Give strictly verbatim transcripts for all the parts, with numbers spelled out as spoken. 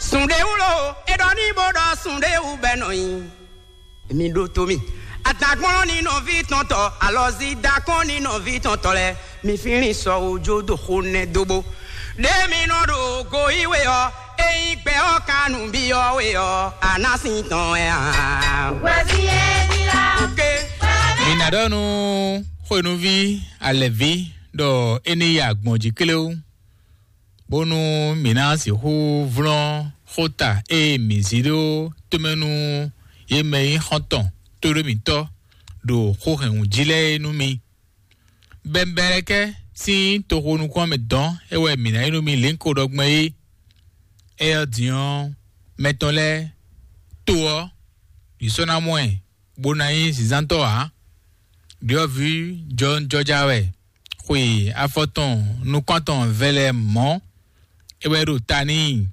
Sùn ɖé wú lo, é ɖɔ ní bó ɖɔ sùn ɖé wú bɛ́ nɔ nyi. Mi ɖó tó mì. Àtàgbọ́n ní nɔví tɔn tɔ, alɔzi dakɔn ní nɔví tɔn tɔ lɛ. Mi fínlín sɔ ojú dó xó nɛ dóbó. Ɖé mi nɔ ɖo go yí we ɔ́, ényí gbɛ ɔ́ kan nǔ byɔ́ we ɔ́, a ná sin tɔn wɛ a? Oke. Mi ná ɖɔ nú xwénúví alɛ̌ví ɖɔ é ní yi agbɔ̌n jí kléwú, bónú mǐ ná sixú vlɔ́n xóta e mǐ zí ɖó tomɛ nú yě mɛ e nyí xɔ́ntɔn tóɖó mǐtɔn ɖo xó hɛn wǔ jí lɛ́ɛ é nú mi. Bɛnbɛlɛkɛ sín toxo nukún ɔ́ mɛ dɔn é wɛ mǐ ná nyí nú mi lěnko ɖɔ gbɔn é. Éyɛ́ ɔ́ din ɔ́, mɛ tɔn lɛ́ɛ to ɔ́, yě sɔ́ ná mɔ ɛ, bó ná nyí zǐnzántɔ́ ǎ. Ɖyɔ̌vǐ jɔnjɔja wɛ, xwe afɔ tɔn nukɔn tɔn vɛlɛ mɔ̌, é wɛ ɖo ta n'i,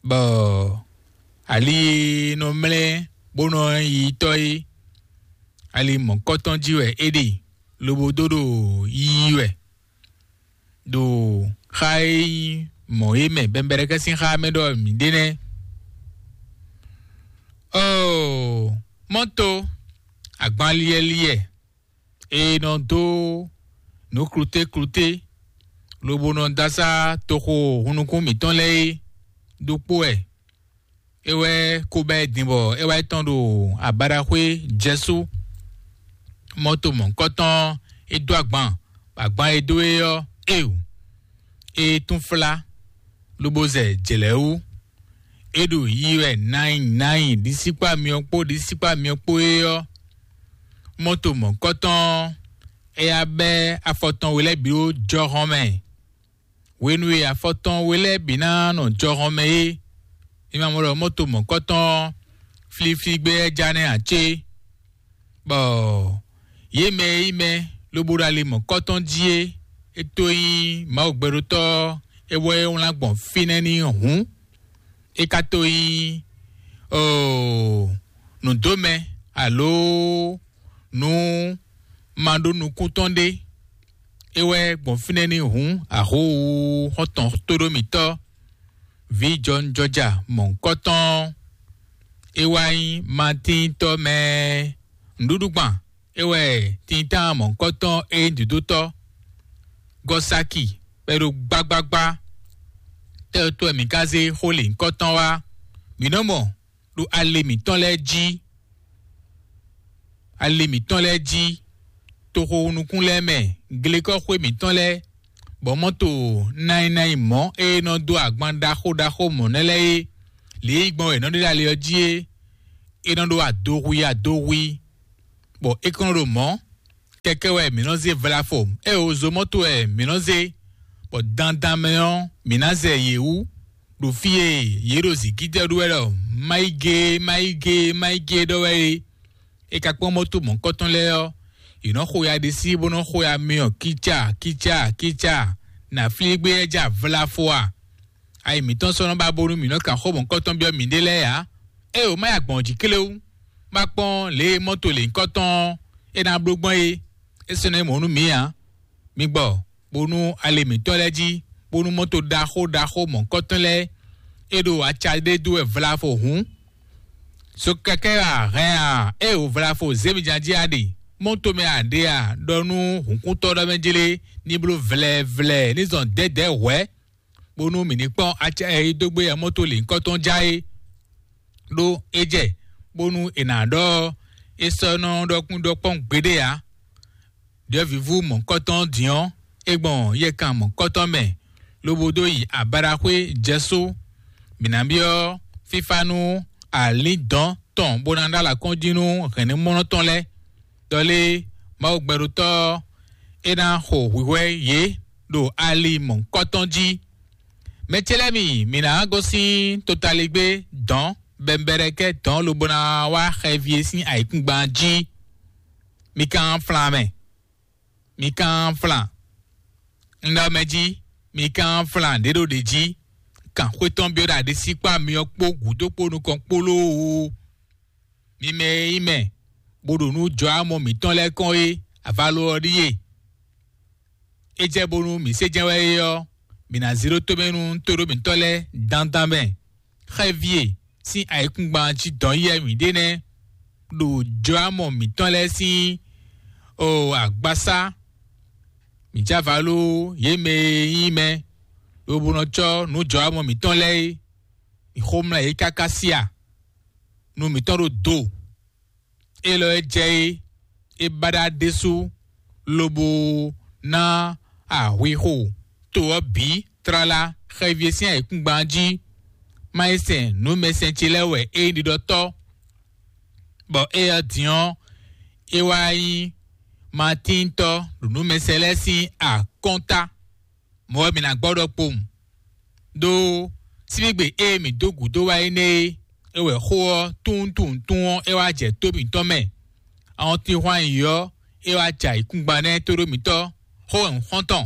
bɔ ali e nɔ mlɛ́ bó nɔ yi tɔ́ é, ali mɔ̌kɔtɔn jí wɛ é ɖe, lobo dó ɖo yiyi wɛ ɖo xa e nyí mɔ̌ é mɛ, bɛnbɛlɛkɛ sín xá mɛ ɖɔ mǐ ɖe nɛ́. Oo, mɔ́to agbanliɛliɛ e nɔ dó nǔ klútéklúté, lobo nɔ dó asá toxo hunnukún mǐtɔn lɛ́ɛ é ɖokpó wɛ. É wɛ ko bɛ́ din bɔ é wá yi tɔ́n ɖo abaɖaxwé jɛsú. Mɔto mɔ̌hunkɔtɔn é dó agban, bɔ agban e dó é ɔ́, é wǔ. É tún flá, lobo zɛ jlɛ̌ wú. É ɖo yiyi wɛ nǎnyi nǎnyi ɖisíkpá myɔ kpó ɖisíkpá myɔ kpó é ɔ́, mɔto mɔ̌hunkɔtɔn ɔ́, é yá bɛ́ afɔ tɔn we lɛ́ɛ bǐ ɖó jɔhɔn mɛ. Hwenu e afɔ tɔn we lɛ́ɛ bǐ ná nɔ jɔhɔn mɛ é, mi ma mɔ ɖɔ mɔto mɔ̌hunkɔtɔn ɔ́, fliflí gbé wɛ ja nɛ́ ǎ cé? Bɔ yě mɛ e nyí mɛ lobo ɖo ali mɔ̌hunkɔtɔn jí é, é tó nyí Mawu gbɛɖótɔ́ ɔ́, é wɛ é wlán gbɔn fínɛ́ n'i hǔn, é ka tó nyí oo nǔdómɛ alo nǔ ma ɖó nukún tɔn ɖé. É wɛ gbɔn fínɛ́ ní hǔn ahǒ xɔ́ntɔn tóɖómítɔ́, vǐ jɔnjɔja mɔ̌hunkɔtɔn. É wá nyí Matíntɔ́ mɛ nǔɖuɖugban. É wɛ tintan mɔ̌hunkɔtɔn e nyí dǐdótɔ́ Gɔsaki bɔ é ɖo gbágbágbá. Tɛ́ ɔ́ tó wɛ mǐ ka zé xó lěhunkɔtɔn wá? Mǐ nɔ́ mɔ ɖo ali mǐtɔn lɛ́ɛ jí, ali mǐtɔn lɛ́ɛ jí, toxo nukún lɛ́ɛ mɛ, glekɔ́xwé mǐtɔn lɛ́ɛ, bɔ mɔ́to nayinayi mɔ̌ e nɔ dó agban ɖaxó ɖaxó mɔ̌ nɛ́ lɛ́ɛ é, lě e yi gbɔn wɛ è nɔ ɖe ɖo ali ɔ́ jí é, é nɔ ɖó adohwi adohwi, bɔ é kɔn nɔ ɖo mɔ̌. Kɛkɛ wɛ mǐ nɔ zé vlafo, ée wǒ zó mɔ́to wɛ mǐ nɔ zé, bɔ dandan mɛ ɔ́, mǐ ná zɛ yě wú ɖo fí e yě ɖo zǐngídɛ́ ɖó wɛ ɖɔ má yi gé, má yi gé, má yi gé ɖɔ wɛ é. É ka kpɔ́n mɔ́to mɔ̌hunkɔtɔn lɛ́ɛ ɔ́, yě nɔ xo ya ɖisí bó nɔ xo ya myɔ kícá kícá kícá. Nǎ flí gbé ɛ́ já vlafo a? Ayi mǐtɔn sɔ́ nɔ ba bónú mǐ nɔ kan xó mɔ̌hunkɔtɔn byɔ́ mǐɖée lɛ́ɛ ǎ. Ée wǒ má yi agbɔ̌n jí kléwú, má kpɔ́n lě e mɔ́to lěhunkɔtɔn ɔ́ é ná bló gbɔn é, é sɔ́ nɔ nyí mɔ̌ nú mǐ ǎ. Mi gbɔ, bónú ali mǐtɔn lɛ́ɛ jí, bónú mɔ́to ɖaxó ɖaxó mɔ̌hunkɔtɔn lɛ́ɛ é ɖo aca ɖé dó wɛ vlafo hǔn. So kɛkɛ a hɛn a? Ée wǒ vlafo zě mi jan jí a ɖe, mɔ́to mɛ a ɖe a ɖɔ nú hǔnkúntɔ́ ɖɔ mɛ jlé ní bló vlɛvlɛ ní zɔn dɛ̌dɛ̌ hwɛ̌, bónú mǐ ní kpɔ́n aca e dó gbé yɛ mɔ́to lǐnkɔ́tɔn já é. Ɖó é jɛ bónú è nǎ ɖɔ é sɔ́ nɔ ɖɔkún ɖɔkpɔ́n gbeɖé ǎ. Ɖyɔ̌vǐvú mɔ̌hunkɔtɔn ɔ́ din ɔ́, é gbɔn yɛkan mɔ̌hunkɔtɔn mɛ, lobo dó yi abaɖaxwé jɛsú. Mǐ ná byɔ́ fífá nú alǐndɔ̌n tɔn bó ná ɖó alakɔ́njí nú hɛ̌nnumɔnɔ tɔn lɛ́ɛ. Ɖɔ lé, Mawu gbɛɖótɔ́ ɔ́, é ná xo hwǐhwɛ́ yě ɖo ali mɔ̌hunkɔtɔn jí. Mɛ ce lɛ́ɛ mi, mǐ ná gosín totaligbé dɔ̌n bɛnbɛɖɛkɛ́ dɔ̌n lobo ná wá xɛví e sín ayǐkúngban jí. Mi ka flan mɛ, mi ka flan. Un ɖɔ mɛ jí, mi ka flan ɖě ɖo ɖě jí. Kan xwé tɔn byɔ́ ɖo aɖisí kpó amyɔ kpó gǔdo kpó nukɔn kpó lóo. Mi mɛ e nyí mɛ, bó ɖo nú jɔ̌ amɔ mǐtɔn lɛ́ɛ kɔn é, avalo ɔ́ ɖíe. É jɛ bónú mǐ sé jɛ́n wɛ é ɔ́, mǐ ná zé ɖó tomɛ nú tóɖó mǐtɔn lɛ́ɛ dandan mɛ. xɛvie sín ayǐkúngban jí dɔn yɛ mǐ ɖe nɛ́ ɖo jɔámɔ mǐtɔn lɛ́ɛ sín o agbasá. Mǐ já va ló yě mɛ e nyí mɛ lobo nɔ cɔ́ nǔ jɔámɔ mǐtɔn lɛ́ɛ é. Mǐ xomlá yě káká sí a? Nu mǐtɔn ɖo do. Élɔ́ e jɛ é, é ba ɖa ɖésú lobo ná ahwixo to ɔ́ bǐ tlala xɛvie sín ayǐkúngban jí. Má yi sɛn nǔmɛsɛn ce lɛ́ɛ wɛ é nyí ɖiɖɔtɔ́, bɔ éyɛ́ din ɔ́, é wá nyí matíntɔ́ ɖo nǔmɛsɛn lɛ́ɛ sín akɔ́nta. Mɔ̌ wɛ mǐ ná gbɔ ɖɔkpowun. Đó síbígbe e mǐ dó gǔdo wá énɛ́ é, é wɛ xó ɔ́ tunwuntunwun ɔ́ é wá jɛ tó mǐtɔn mɛ. Awɔntinhwan yǐyí ɔ́, é wá jɛ ayǐkúngban nɛ́ tóɖó mǐtɔn xó wɛ un xɔ́n tɔn.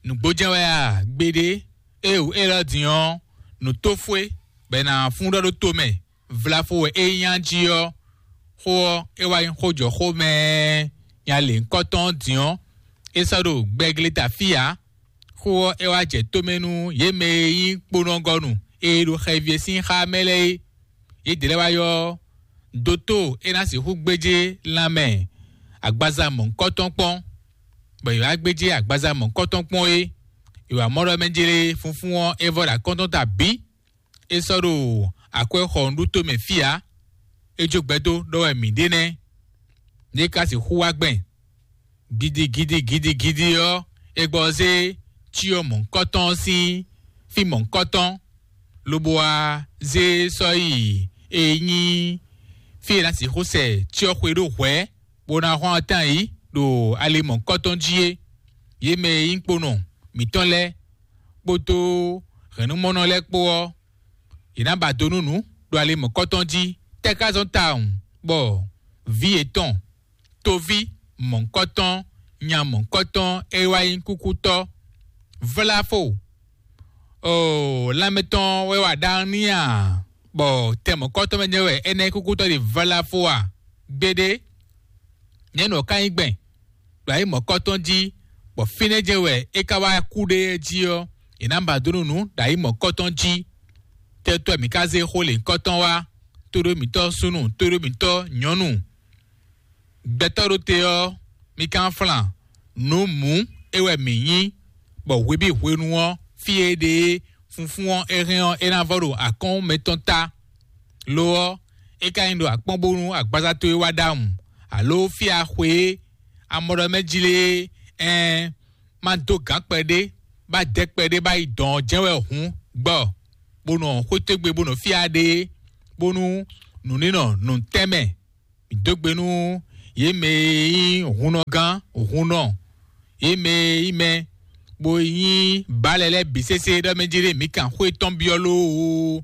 Nǔgbó jɛ́n wɛ a? Gbeɖé. Éeǒ, élɔ́ din ɔ́, nǔtófwé bɔ è nǎ fún ɖɔ ɖó tomɛ vlafo wɛ é nyí a jí ɔ́, xó ɔ́, é wá nyí xó jɔ xó mɛ nya lěhunkɔtɔn ɔ́ din ɔ́, é sɔ́ ɖo gbɛgleta fí ǎ. Xó ɔ́, é wá jɛ tomɛ nú yě mɛ e nyí kponɔgɔnu e ɖo xɛvie sín xá mɛ lɛ́ɛ é. Yědɛɛ lɛ́ɛ wá ylɔ́ dótó e ná sixú gbéjé lanmɛ agbaza mɔ̌hunkɔtɔn kpɔ́n, bɔ yě wá gbéjé agbaza mɔ̌hunkɔtɔn kpɔ́n é. Yě wá mɔ ɖɔ mɛ jlé funfún ɔ́, é vɔ ɖo akɔ́ntɔn ta bǐ. É sɔ́ ɖo akwɛ́ xɔ nǔɖuto mɛ fí ǎ. É jó gbɛdó ɖɔ wɛ mǐ ɖe nɛ́. Yě ka sixú wá gbɛn gidigidi gidigidi ɔ́, é gbɔ zé cyɔ mɔ̌hunkɔtɔn ɔ́ sín fí mɔ̌hunkɔtɔn, lobo wá zé sɔ́ yi e nyí fí e ná sixú sɛ cyɔ xwe ɖó hwɛ̌, bó ná hwán ɔ́ tán yǐ ɖo ali mɔ̌hunkɔtɔn jí é. Yě mɛ e nyí kponɔ mǐtɔn lɛ́ɛ kpódó hɛ̌nnumɔnɔ lɛ́ɛ kpó ɔ́, yě ná ba do nú nǔ ɖo ali mɔ̌hunkɔtɔn jí. Tɛ́ ka zɔ́n tawun bɔ vǐ yětɔn, toví mɔ̌hunkɔtɔn, nya mɔ̌hunkɔtɔn e wá nyí kúkútɔ́, vláfo, oo, lanmɛ tɔn wɛ wa ɖaxó n'i a? Bɔ tɛ mɔ̌hunkɔtɔn mɛ jɛ́n wɛ énɛ́ kúkútɔ́ ɖe vláfo a? Gbeɖé. Nyɛ nɔ ka nyí gbɛn ɖo ayǐ mɔ̌kɔtɔn jí, bɔ fínɛ́ jɛ́n wɛ é ka wá kú ɖe jí ɔ́, è nǎ ba dó nú nǔ ɖo ayǐ mɔ̌kɔtɔn jí. Tɛ́tɔ́ mǐ ka zé xó lěhunkɔtɔn wá, tóɖó mǐtɔn súnnu, tóɖó mǐtɔn nyɔ̌nu. Gbɛtɔ́ ɖo te ɔ́, mi ka flan nǔ mǔ é wɛ mǐ nyí, bɔ hwe bǐ hwenu ɔ́, fí e ɖe é funfún ɔ́ é hɛn ɔ́, é ná vɔ ɖo akɔ́n mɛtɔn ta. Lo ɔ́, é ka nyi ɖo akpɔ́n bónú agbaza towe wá ɖ'awun, aló fí axwe e amɔɖɔmɛ jlé é, ɛɛn, má dó gǎn kpɛɖé, bá dɛ kpɛɖé bá yi dɔn ɔ́ jɛ́n wɛ hǔn gbɔ, bó nɔ xwétégbe bó nɔ fí aɖé, bónú nǔ ní nɔ nǔtɛ́nmɛ. Mǐ dó gbe nú yě mɛ e nyí hunnɔgán, hunnɔ, yě mɛ e nyí mɛ, bó nyí bǎlɛ lɛ́ɛ bǐ sésé ɖɔ mɛ jí ɖé mǐ kan xwé tɔn byɔ́ lóoo.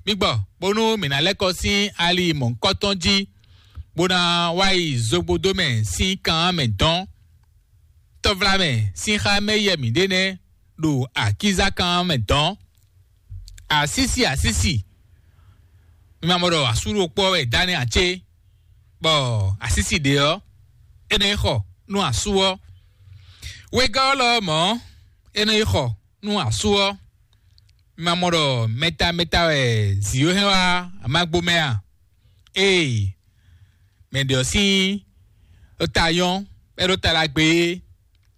Mǐ gbɔ, bónú mǐ ná lɛ́ kɔ sín ali mɔ̌hunkɔtɔn jí, bó ná wá yi zogbodó mɛ sín kan mɛ dɔn. Tɔvlamɛ sín xá mɛ yɛ mǐ ɖe nɛ́ ɖo akízákan mɛ dɔn. Asísi, asísi, mi ma mɔ ɖɔ asú ɖokpó wɛ dá nɛ́ ǎ cé? Bɔ asísi ɖě ɔ́, é nɔ yi xɔ nú asú ɔ́. Wegɔ́ ɔ́ lɔ mɔ̌, é nɔ yi xɔ nú asú ɔ́. Mi ma mɔ ɖɔ mɛta mɛta wɛ zǐ ɔ́ hɛn wá amagbo mɛ a? Ee, mɛ ɖě ɔ́ sín ta nyɔ́, é ɖó ta ɖagbe é.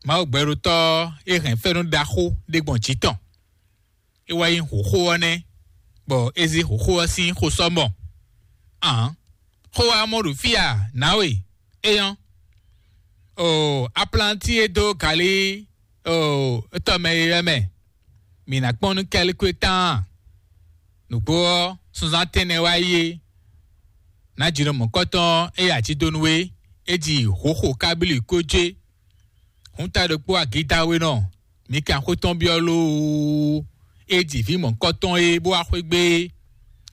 Mawu gbɛɖotɔ́ e hɛn fɛ́nú ɖaxó ɖé gbɔn jǐ tɔn. É wá nyí hǒxo ɔ́ nɛ́, bɔ é zé hǒxo ɔ́ sín xo sɔ́ mɔ. Ǎn, xó wá mɔ ɖo fí a? Nǎwe, é nyɔ́. Oo, aplanti e dó galí, oo, tɔmɛ e wɛ mɛ, mǐ ná kpɔ́n nú kɛ́likwe tán. Nǔgbó ɔ́, sunzán tɛ́nnɛ wá yi é. Nǎjínɔ mɔ̌kɔtɔn e ajídonu é, é ji hǒxo kábílì kó jé. Hǔn ta ɖokpó agídáwénɔ, mi kan xwé tɔn byɔ́ lóoo. É ji vǐ mɔ̌kɔtɔn e bó wá xwé gbé é.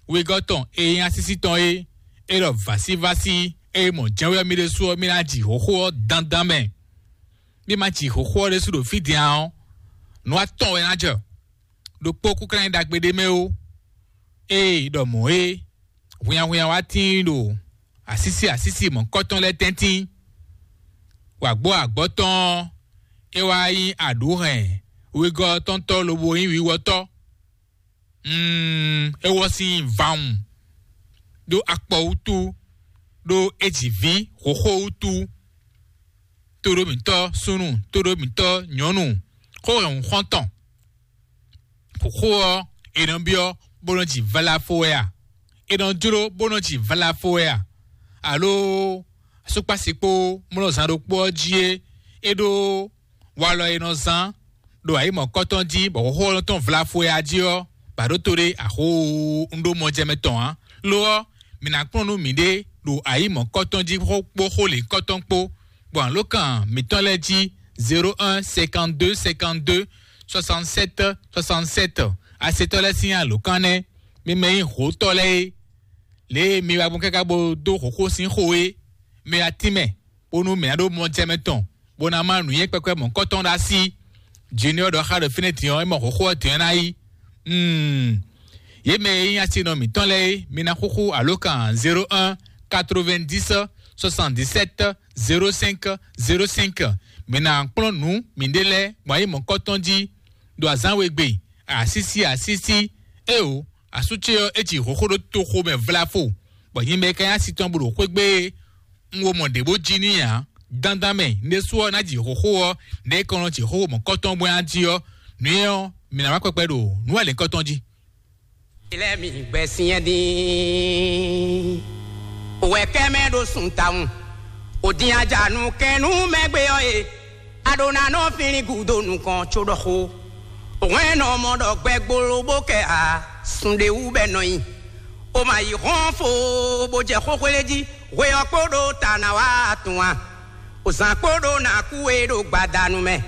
Wegɔ́ tɔn e nyí asísí tɔn é, é ɖɔ vǎsívásí e mɔ jɛ́nwé ɔ́ mì ɖésú ɔ́, mì ná ji hǒxo ɔ́ dandan mɛ. Mì ma ji hǒxo ɔ́ ɖésú ɖo fí din ǎ ɔ́, nǔ atɔn wɛ ná jɛ. Ɖokpó kúnklán nyí ɖagbe ɖé mɛ ó. Ée ɖɔ mɔ̌ é, hwinnyahwinnya wá tíin ɖo asísí asísí mɔ̌kɔtɔn lɛ́ɛ tɛ́ntin. Wǎgbó agbɔ̌ tɔn ɔ́, é wá nyí aɖǔhɛn wegɔ́ tɔn tɔ́ lobo nyí wiwɔtɔ́. Mm, é wɔ sín vawun ɖó akpɔ wútu, ɖó é ji vǐ xoxó wútu, tóɖó mǐtɔn súnnu, tóɖó mǐtɔn nyɔ̌nu, xó hɛn xɔ́ntɔn. Xoxó ɔ́, è nɔ byɔ́ bó nɔ́ ji vlafo wɛ a? È nɔ jló bó nɔ́ ji vlafo wɛ a? Alo asúkpási kpó mlɔ́zán ɖokpó ɔ́ jí é, é ɖó walɔ e nɔ zán ɖo ayǐ mɔ̌kɔtɔn jí, bɔ xóxó ɔ́ nɔ tɔn vlafo wɛ a jí ɔ́, bǎ ɖó to ɖé axóo un ɖó mɔjɛmɛ tɔn ǎ. Lo ɔ́, mǐ ná kplɔ́n nú mǐɖée ɖo ayǐ mɔ̌kɔtɔn jí kpó xó lěkɔ́tɔn kpó, gbɔn alǒkan mǐtɔn lɛ́ɛ jí: zéro un cinquante deux cinquante deux soixante sept soixante sept. Asetɔ́ lɛ́ɛ sín alǒkan nɛ́. Mi mɛ nyí hǒtɔ́ lɛ́ɛ é, lě e mi wá gbɔn káká bó dó xǒxó sín xó é, mi wá tínmɛ, bónú mǐ ná ɖó mɔjɛmɛ tɔn, bó ná má nǔnywɛ́ kpɛkpɛ mɔ̌kɔtɔn ɖo así. Junior ɖɔ xá ɖo fínɛ́ din ɔ́, é mɔ xóxó ɔ́ din ɔ́ ná yí. Hmm. Yě mɛ e nyí asinɔ mǐtɔn lɛ́ɛ é, mi ná xúxú alǒkan zéro un quatre-vingt-dix soixante-dix-sept zéro cinq zéro cinq. Mi ná kplɔ́n nǔ miɖée lɛ́ɛ gbɔn ayǐ mɔ̌kɔtɔn jí ɖo azǎn we gbe, asísí asísí. Éeǒ, asú ce ɔ́, é ji xóxó ɖó toxo mɛ vlafo, bɔ nyɛ mɛ ka nyí asi tɔn bó ɖo xwé gbe é. Un wo mɔ ɖě bó jí n'i ǎ. Dandan mɛ, un ɖésú ɔ́ ná ji xóxó ɔ́, nɛ̌ kɔn nɔ ji xóxó mɔ̌kɔtɔn bó ná jí ɔ́, nǔ énɛ́ ɔ́, mǐ ná wá kpɛkpɛ ɖo nǔ alěkɔtɔn jí. Ilé mi gbɛ sinyɛ dín. Òwɛ kɛ mɛ ɖo sun tawun. Òdin ajanu kɛnu mɛ gbé ɔ́ e. Aɖo na nɔ fínlín gúdo nukɔn có ɖɔ xó. Òhwɛn nɔ mɔ ɖɔ gbɛ gbolo bó kɛ a sun ɖé wú bɛ nɔ nyi. O ma yi hɔn fo bó jɛ xóxwélé jí. Hwe ɔ́ kpo ɖo ta na wá tun a? O zan kpo ɖo na kú e ɖo gbadanu mɛ.